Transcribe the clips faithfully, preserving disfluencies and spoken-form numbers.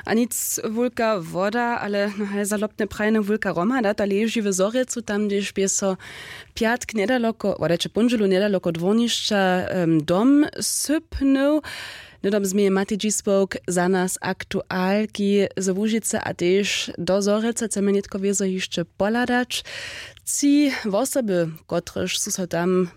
A nic wulka woda, ale no haj za lopne prajene wulka hromada ta leži w zhorjelcu tam hdźež bě so pjatk njedaloko wodajće póndźelu njedaloko dwórnišća dom sypnył. Hnydom změje matej dźispołk za nas aktualki z łužicy a tež do zhorjelca chcemy nětko wězo hišće pohladać. Tři wosoby kotrež su so tam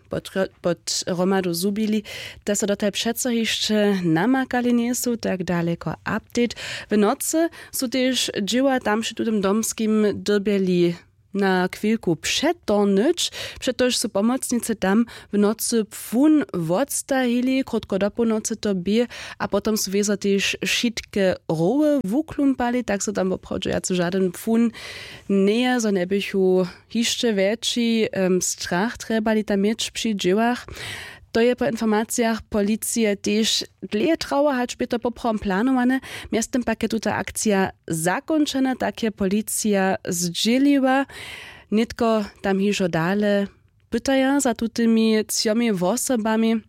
pod hromadu zhubili, te so dotal přeco hišće namakali njejsu tak daleko. Update. W nocy su tež dźěła tam při tutym domskim dyrbjeli na chwilku přetornyć, přetož su pomocnicy tam w nocy płun wotstahili krótko do połnocy to bě. A potom su wězo tež wšitke roły wuklumpali tak so tam woprawdźe wjace žadyn płun njeje zo njeběchu hišće wjetši strach trjebali tam měć při dźěłach. To je po informacijach policije tež dlěje trało hač bě to poprawom planowane. Mjeztym pak je tuta akcija zakónčena tak je policija zdźěliła. Nětko tam hižo dale pytaja za tutymi třomi wosobami.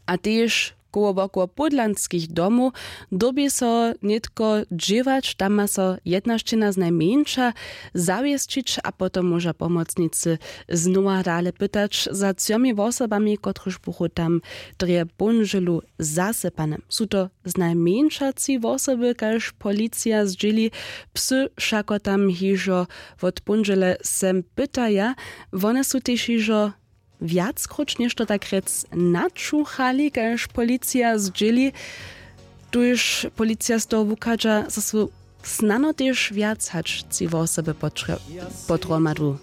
A tež koło wokoło pódlanskich domow dyrbi so nětko dźěłać tam ma so jedna šćěna znajmjeńša zawěsćić a potom móža pomocnicy znowa dale pytać za třomi wosobami kotryž buchu tam drje póndźelu zasypane. Su to znajmjeńša tři wosoby kaž policija zdźěli. Psy wšako tam hižo wot póndźele sem pytaja. Wone su tež hižo wjackróć něšto tak rjec načuchali kaž policija zdźěli. Tuž policija z toho wuchadźa zo su snano tež wjac hač tři wosoby pod hromadu.